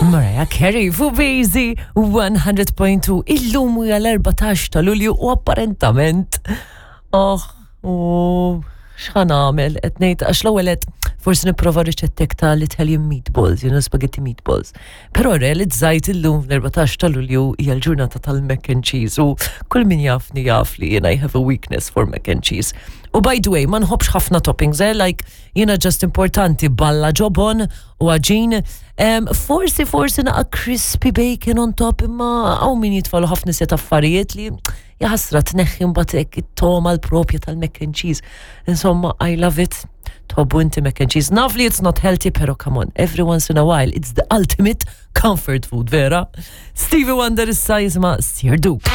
Mariah Carey fuq Bazy 100.2 illum huwa l-14 ta' Lulju u apparentament oh u x'ħa nagħmel qed ngħid għax l-ewwel qed forsi nipprova riċettek ta' l-Italian meatballs, spaghetti meatballs. Però realizzajt illum l-14 ta' Lulju hija l-ġurnata tal-mac and cheese u kull min jafni jaf li jien I have a weakness for mac and cheese. U by the way, ma nħobbx ħafna toppings, eh? Like jiena just importanti balla ġobon u għaġin. Forsi naqa crispy bacon on top, imma hawn min jitfalu ħafna set affarijiet li jaħasra tneħħi mbagħad hekk it-toma l-propja tal-mac and cheese. Insomma, I love it. Tħobbu inti mac and cheese. Naf li it's not healthy, pero come on, every once in a while, it's the ultimate comfort food, vera? Stevie Wonder issa jisma' Sir Duke.